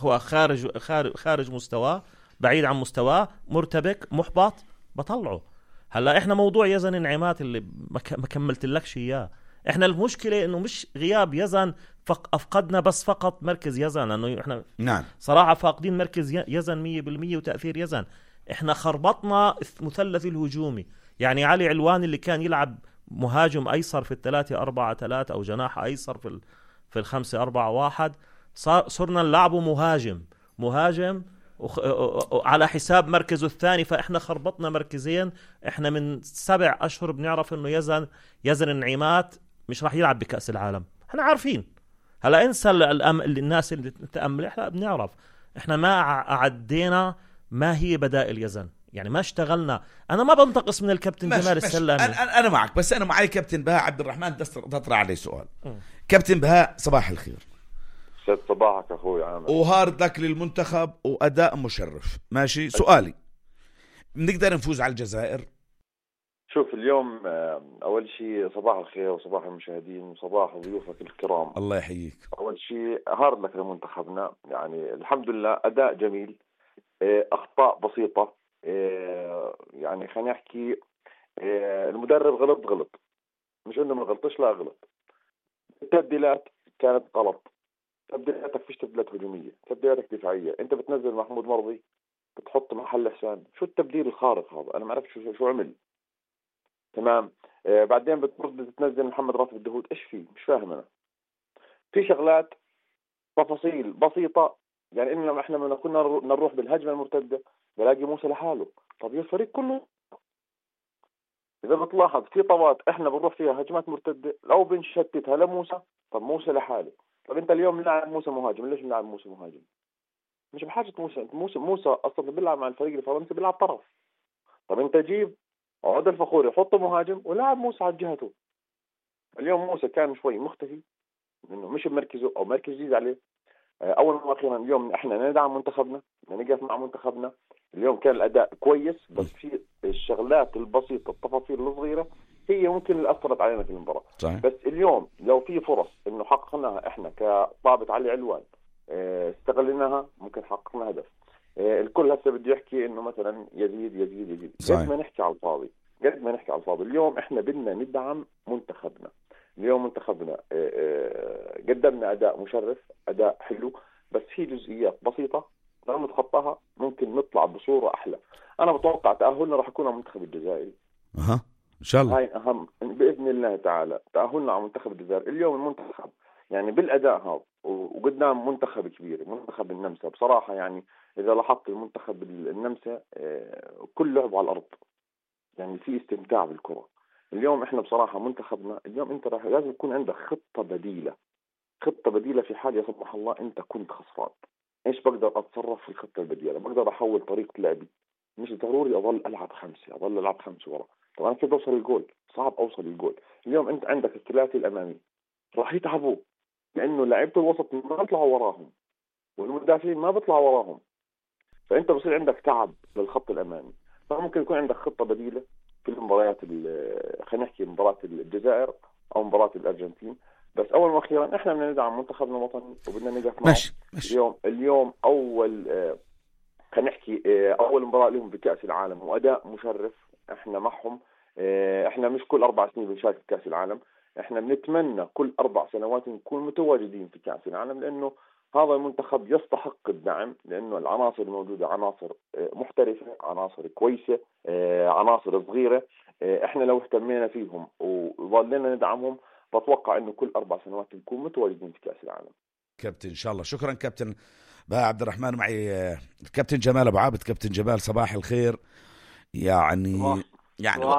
هو خارج مستواه، بعيد عن مستواه، مرتبك، محبط، بطلعه. هلا احنا موضوع يزن انعمات اللي ما كملت لكش اياه. احنا المشكله انه مش غياب يزن، افقدنا بس فقط مركز يزن، لانه احنا نعم صراحه فاقدين مركز يزن 100% وتاثير يزن. احنا خربطنا مثلث الهجومي. يعني علي علوان اللي كان يلعب مهاجم ايسر في 3-4-3 او جناح ايسر في 5-4-1، صرنا نلعبه مهاجم على حساب مركزه الثاني. فإحنا خربطنا مركزين. إحنا من 7 أشهر بنعرف إنه يزن النعيمات مش راح يلعب بكأس العالم، إحنا عارفين. هلا انسى الناس اللي تتأمل، إحنا بنعرف. إحنا ما عدينا ما هي بدائل يزن، يعني ما اشتغلنا. أنا ما بنتقص من الكابتن جمال السلامي، أنا معك، بس أنا معي كابتن بهاء عبد الرحمن تطرح عليه سؤال. كابتن بهاء صباح الخير. سيد صباحك أخوي عامر، وهارد لك للمنتخب وأداء مشرف. ماشي، سؤالي، بنقدر نفوز على الجزائر؟ شوف اليوم أول شيء صباح الخير وصباح المشاهدين وصباح ضيوفك الكرام، الله يحييك. أول شيء هارد لك لمنتخبنا، يعني الحمد لله أداء جميل، أخطاء بسيطة، يعني خلينا نحكي المدرب غلط، مش إنه ما غلطش، لا غلط. التبديلات كانت غلط، تبديلاتك فيش تبديلات هجومية، تبديلاتك دفاعية. أنت بتنزل محمود مرضي بتحط محل حسان، شو التبديل الخارق هذا؟ أنا ما أعرف شو عمل. تمام. بعدين بتنزل محمد راتب الدهود، إيش فيه؟ مش فاهم أنا. في شغلات تفاصيل بسيطة، يعني إننا إحنا من كنا نروح بالهجمة المرتدة بلاقي موسى لحاله. طب يا الفريق كله إذا بتلاحظ في طوات إحنا بنروح فيها هجمات مرتدة لو بنشتتها لموسى، طب موسى لحاله. طب أنت اليوم نلعب موسى مهاجم، ليش نلعب موسى مهاجم؟ مش بحاجة موسى أصلا بيلعب مع الفريق الفرنسي بيلعب طرف. طب أنت جيب عود الفخوري حطه مهاجم ولعب موسى على جهته. اليوم موسى كان شوي مختفي، إنه مش بمركزه أو مركز جديد عليه. أول وأخيرا اليوم إحنا ندعم منتخبنا، نقف مع منتخبنا. اليوم كان الأداء كويس، بس في الشغلات البسيطة التفاصيل الصغيرة هي ممكن اللي أثرت علينا في المباراة. صحيح. بس اليوم لو في فرص إنه حققناها إحنا كطابة علي علوان استغلناها، ممكن حققنا هدف. الكل هسه بده يحكي إنه مثلا يزيد. قد ما نحكي على الفاضي. اليوم إحنا بدنا ندعم منتخبنا. اليوم منتخبنا قدمنا أداء مشرف، أداء حلو، بس في جزئيات بسيطة لو نتخطاها ممكن نطلع بصورة أحلى. أنا بتوقع تأهلنا راح يكون على المنتخب الجزائري. إن شاء الله. هاي أهم بإذن الله تعالى، تأهلنا على منتخب الجزائر. اليوم المنتخب يعني بالأداء هذا وقدام منتخب كبير، منتخب النمسا بصراحة. يعني إذا لاحظت المنتخب النمسا كل لعب على الأرض، يعني في استمتاع بالكرة. اليوم إحنا بصراحة منتخبنا اليوم أنت لازم يكون عندك خطة بديلة في حال يصبح الله أنت كنت خسران. إيش بقدر أتصرف في الخطة البديلة؟ بقدر أحول طريقة لعبي، مش ضروري أظل ألعب خمسة ورا. طب أنا كيف أوصل الجول؟ صعب أوصل الجول. اليوم أنت عندك الثلاثي الأمامي راح يتعبوا، لأنه لعيبة الوسط ما بيطلعوا وراهم والمدافعين ما بيطلعوا وراهم، فأنت بصير عندك تعب للخط الأمامي. فممكن يكون عندك خطة بديلة في المباريات، خلينا نحكي مباراة الجزائر أو مباراة الأرجنتين. بس أول وأخيرا إحنا بدنا ندعم منتخبنا الوطني وبدنا نقف معه. اليوم أول خلينا نحكي أول مباراة لهم بكأس العالم وأداء مشرف. إحنا معهم، إحنا مش كل 4 سنين بنشارك في كأس العالم، إحنا بنتمنى كل 4 سنوات نكون متواجدين في كأس العالم، لأنه هذا المنتخب يستحق الدعم، لأنه العناصر الموجودة عناصر محترفة، عناصر كويسة، عناصر صغيرة. إحنا لو اهتمينا فيهم وظلنا ندعمهم بتوقع إنه كل 4 سنوات نكون متواجدين في كأس العالم. كابتن إن شاء الله. شكرا كابتن بهاء عبد الرحمن. معي الكابتن جمال أبو عابد. كابتن جمال صباح الخير. يعني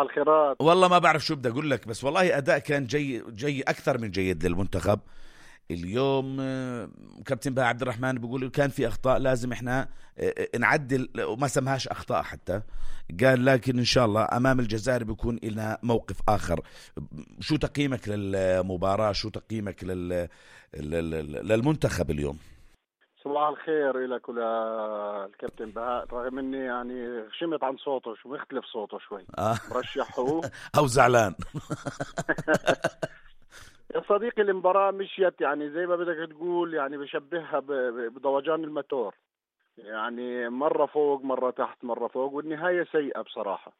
الخيرات. والله ما بعرف شو بدي أقول لك، بس والله أداء كان جي أكثر من جيد للمنتخب اليوم. كابتن بهاء عبد الرحمن بيقول كان في أخطاء لازم إحنا نعدل، وما سمهاش أخطاء حتى، قال لكن إن شاء الله أمام الجزائر بيكون لنا موقف آخر. شو تقييمك للمباراة؟ شو تقييمك للمنتخب اليوم؟ صباح الخير لك وللكابتن بهاء. رغم اني يعني شمت عن صوته، شو مختلف صوته شوي، رشحه او زعلان. يا صديقي المباراة مشيت يعني زي ما بدك تقول، يعني بشبهها بضوجان الماتور، يعني مرة فوق مرة تحت مرة فوق، والنهاية سيئة بصراحة.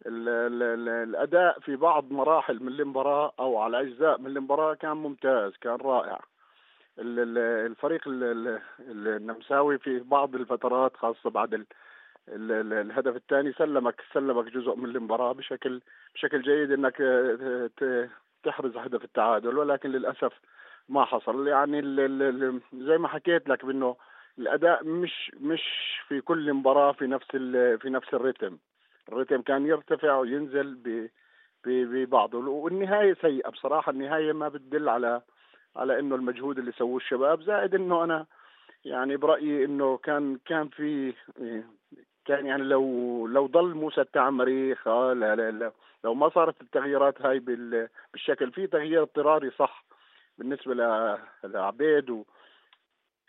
الأداء في بعض مراحل من المباراة أو على أجزاء من المباراة كان ممتاز، كان رائع. الفريق النمساوي في بعض الفترات خاصة بعد الهدف الثاني سلمك جزء من المباراة بشكل جيد انك تحرز هدف التعادل، ولكن للأسف ما حصل. يعني زي ما حكيت لك بانه الأداء مش في كل مباراة في نفس الريتم كان يرتفع وينزل ببعضه، والنهاية سيئة بصراحة. النهاية ما بتدل على انه المجهود اللي سووه الشباب، زائد انه انا يعني برأيي انه كان يعني لو ضل موسى التعمري لو ما صارت التغييرات هاي بالشكل، في تغيير اضطراري صح بالنسبة لعبيد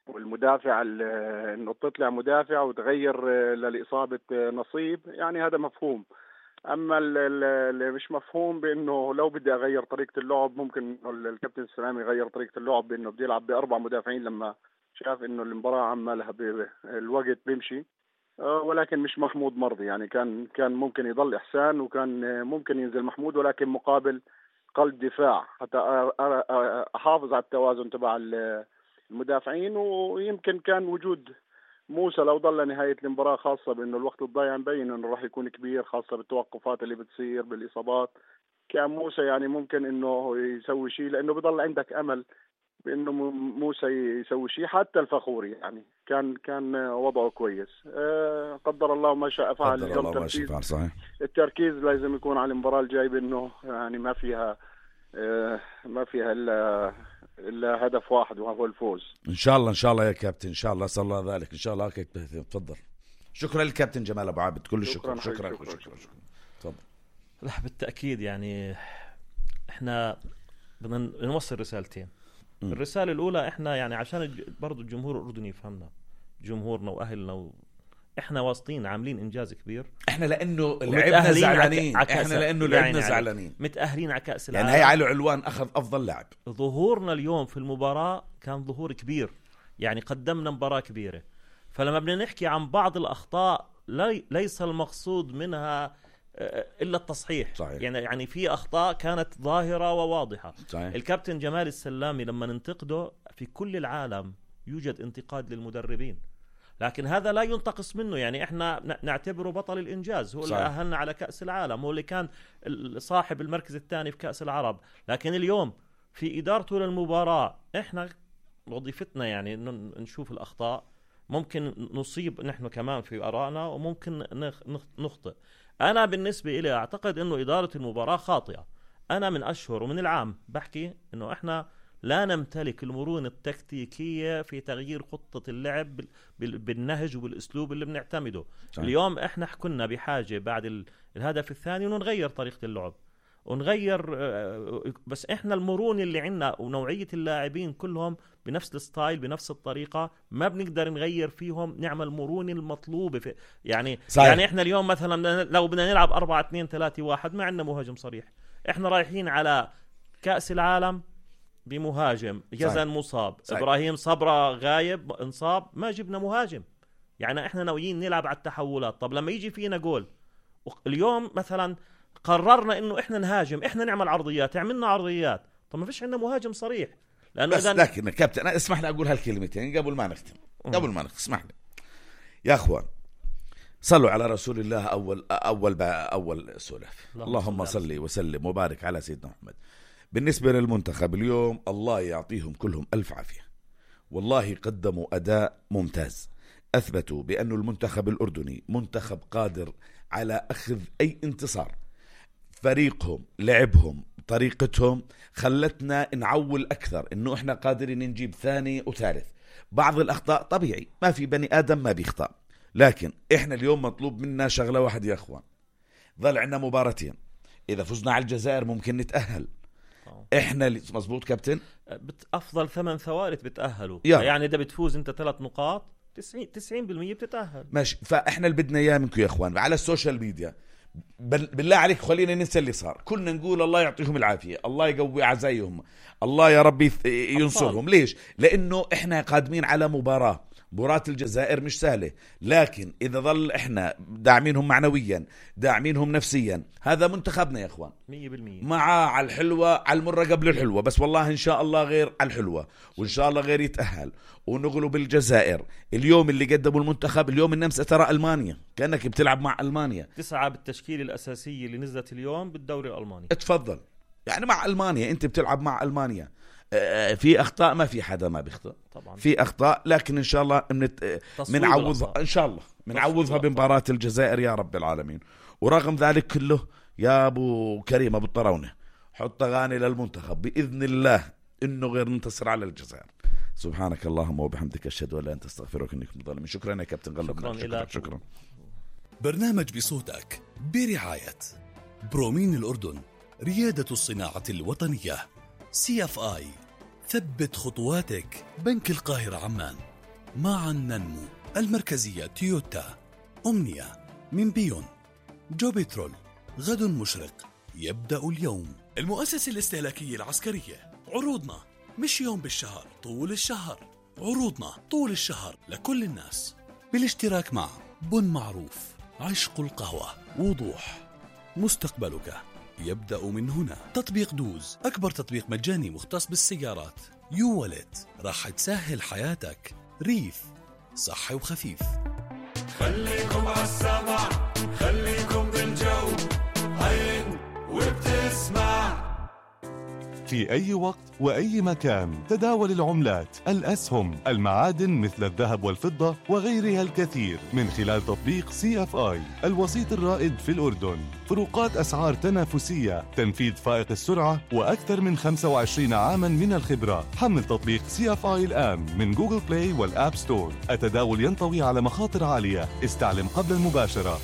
والمدافع انه تطلع مدافع وتغير للإصابة نصيب، يعني هذا مفهوم. اما اللي مش مفهوم بانه لو بدي اغير طريقة اللعب، ممكن الكابتن السلامي يغير طريقة اللعب بانه بدي يلعب ب4 مدافعين لما شاف انه المباراة عمالها الوقت بيمشي، ولكن مش محمود مرضي. يعني كان ممكن يضل إحسان، وكان ممكن ينزل محمود، ولكن مقابل قلب دفاع حتى أحافظ على التوازن تبع المدافعين. ويمكن كان وجود موسى لو ضل نهاية المباراة، خاصة بأنه الوقت الضايع مبين أنه راح يكون كبير، خاصة بالتوقفات اللي بتصير بالإصابات. كان موسى يعني ممكن أنه يسوي شيء، لأنه بضل عندك أمل بانه موسى يسوي شيء. حتى الفخوري يعني كان وضعه كويس. قدر الله ما شاء فعل. قدر الله ما شاء فعل. صحيح. التركيز لازم يكون على المباراة الجاي، بانه يعني ما فيها الا هدف واحد وهو الفوز. ان شاء الله يا كابتن، ان شاء الله صلى الله ذلك ان شاء الله. تفضل. شكرا للكابتن جمال ابو عابد، كل الشكر. شكرا. تفضل. لا بالتأكيد يعني احنا بدنا نوصل رسالتين. الرسالة الأولى احنا يعني عشان برضو الجمهور الأردني يفهمنا، جمهورنا وأهلنا احنا واصلين عاملين إنجاز كبير. احنا لأنه لعبنا زعلانين، احنا لأنه لعبنا زعلانين، متأهلين على كأس العالم. يعني هي علي علوان أخذ أفضل لاعب. ظهورنا اليوم في المباراة كان ظهور كبير، يعني قدمنا مباراة كبيرة. فلما بدنا نحكي عن بعض الأخطاء ليس المقصود منها إلا التصحيح. صحيح. يعني في أخطاء كانت ظاهرة وواضحة. صحيح. الكابتن جمال السلامي لما ننتقده في كل العالم يوجد انتقاد للمدربين، لكن هذا لا ينتقص منه. يعني احنا نعتبره بطل الإنجاز، هو اللي أهلنا على كأس العالم، هو اللي كان صاحب المركز الثاني في كأس العرب. لكن اليوم في إدارته للمباراة احنا وظيفتنا يعني نشوف الأخطاء، ممكن نصيب نحن كمان في آرائنا وممكن نخطئ. أنا بالنسبة إلي أعتقد أنه إدارة المباراة خاطئة. أنا من أشهر ومن العام بحكي أنه إحنا لا نمتلك المرونة التكتيكية في تغيير خطة اللعب بالنهج وبالأسلوب اللي بنعتمده. اليوم إحنا كنا بحاجة بعد الهدف الثاني أنه نغير طريقة اللعب ونغير، بس إحنا المرونة اللي عنا ونوعية اللاعبين كلهم بنفس الستايل بنفس الطريقة، ما بنقدر نغير فيهم، نعمل مرونة المطلوبة في يعني صحيح. يعني إحنا اليوم مثلا لو بدنا نلعب 4-2-3-1 ما عندنا مهاجم صريح. إحنا رايحين على كأس العالم بمهاجم، يزن مصاب، صحيح. إبراهيم صبرا غايب انصاب، ما جبنا مهاجم. يعني إحنا ناويين نلعب على التحولات. طب لما يجي فينا جول اليوم مثلا قررنا إنه إحنا نهاجم، إحنا نعمل عرضيات، عملنا عرضيات، طب ما فيش عندنا مهاجم صريح. بس لكن كابتن أنا اسمح لي أقول هالكلمتين قبل ما نختم. اسمح لي يا أخوان، صلوا على رسول الله. أول سلف. اللهم صل وسلم وبارك على سيدنا محمد. بالنسبة للمنتخب اليوم الله يعطيهم كلهم ألف عافية، والله قدموا أداء ممتاز، أثبتوا بأن المنتخب الأردني منتخب قادر على أخذ أي انتصار. فريقهم، لعبهم، طريقتهم خلتنا نعول أكثر إنه إحنا قادرين نجيب ثاني وثالث. بعض الأخطاء طبيعي، ما في بني آدم ما بيخطأ، لكن إحنا اليوم مطلوب منا شغلة واحد يا أخوان. ظل عندنا مباراتين، إذا فزنا على الجزائر ممكن نتأهل. إحنا مزبوط كابتن، أفضل 8 ثوالث بتأهلوا، يعني إذا بتفوز أنت 3 نقاط 90% بتتأهل. ماشي. فإحنا اللي بدنا إياه منكم يا أخوان على السوشيال ميديا بالله عليك خلينا ننسى اللي صار. كنا نقول الله يعطيهم العافية، الله يقوي عزايهم، الله يا ربي ينصرهم. ليش؟ لأنه إحنا قادمين على مباراة الجزائر مش سهلة، لكن إذا ظل إحنا داعمينهم معنويا داعمينهم نفسيا، هذا منتخبنا يا إخوان 100% مع على الحلوة على المرة قبل الحلوة. بس والله إن شاء الله غير على الحلوة، وإن شاء الله غير يتأهل ونغلب الجزائر. اليوم اللي قدموا المنتخب اليوم النمسا ترى ألمانيا، كأنك بتلعب مع ألمانيا. 9 بالتشكيل الأساسية اللي نزلت اليوم بالدوري الألماني. اتفضل، يعني مع ألمانيا أنت بتلعب مع ألمانيا. في أخطاء، ما في حدا ما بيخطئ طبعا، في أخطاء، لكن إن شاء الله منعوضها، إن شاء الله منعوضها بمباراة الجزائر يا رب العالمين. ورغم ذلك كله يا أبو كريم أبو الطراونة، حط أغاني للمنتخب بإذن الله إنه غير منتصر على الجزائر. سبحانك اللهم وبحمدك أشهد أن لا إله إلا أنت أستغفرك إنك مظلم. شكرا يا كابتن غلب. شكرا. برنامج بصوتك برعاية برومين الأردن، ريادة الصناعة الوطنية. CFI، ثبت خطواتك. بنك القاهرة عمان، معا ننمو. المركزية تويوتا. أمنية من بيون. جوبيترول، غد مشرق يبدأ اليوم. المؤسسة الاستهلاكية العسكرية، عروضنا مش يوم بالشهر، طول الشهر. عروضنا طول الشهر لكل الناس، بالاشتراك مع بن معروف، عشق القهوة، وضوح. مستقبلك يبدأ من هنا. تطبيق دوز، أكبر تطبيق مجاني مختص بالسيارات. يو والت، راح تسهل حياتك. ريف، صحي وخفيف. خليكم عالسمع، خليكم بالجو، عين وبتسمع. في أي وقت وأي مكان تداول العملات، الأسهم، المعادن مثل الذهب والفضة وغيرها الكثير من خلال تطبيق CFI، الوسيط الرائد في الأردن. فروقات أسعار تنافسية، تنفيذ فائق السرعة، وأكثر من 25 عاما من الخبرة. حمل تطبيق CFI الآن من جوجل بلاي والآب ستور. التداول ينطوي على مخاطر عالية، استعلم قبل المباشرة.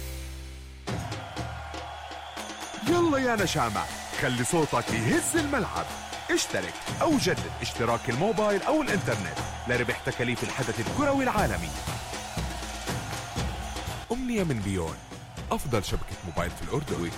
يلا يا نشامة، خلي صوتك يهز الملعب. اشترك أو جدد اشتراك الموبايل أو الإنترنت لربح تكاليف الحدث الكروي العالمي. أمنية من بيون، أفضل شبكة موبايل في الأردن.